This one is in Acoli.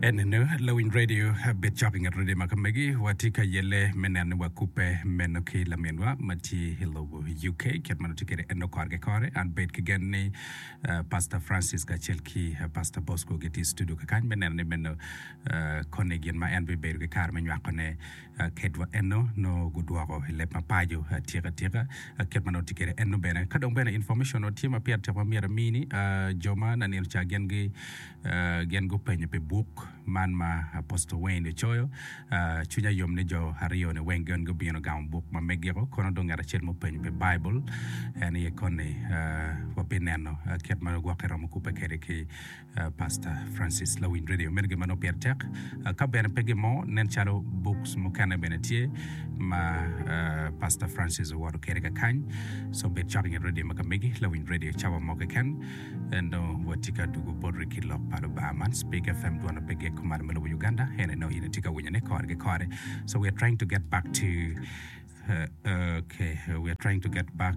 Enenu lawiny radio bed cok i nget radio ma ka megi. Watye ka yelle me neno ni wakubbe meno ki laminwa ma tye i lobo UK kit ma nongo tye kwede eno kore ki kore. An bed ki gen ni Pastor Francis kacel ki Pastor Bosco gitye i studio kakany me neno ni meno koni gin ma en bibedo ki kare me nywakone kedwa eno nongo gudwoko i leb ma paco atika tika kit ma nongo tye kwede eno bene. Ka dong bene information tye ma pire tek ma myero amini jo ma nanino ca gin gi Gin gupenyo pi buk man ma Apostle Wayne ocoyo. Cwinya yom ni jo aryo-ni weng gin gubino gamo buk ma megiko. Kono dong ngat acel mupenyo pi Baibul en aye koni wabineno kit ma gwokke romo kubbe kwede ki Pastor Francis Lawiny Radio. Meno gin ma nongo pire tek. Ka bene pe gin mo, nen calo books mukene bene tye ma Pastor Francis owoto kwede kakany. So bed cok i nget radio ma ka megi, Lawiny Radio cawa mo keken. En dong watye ka dwogo boti ki lok pa Lubanga man Speak FM dwon pe gik kumalo me lobo Uganda ene nongo in itye ka winyo ne kore ki kore so we are trying to get back to uh, okay we are trying to get back.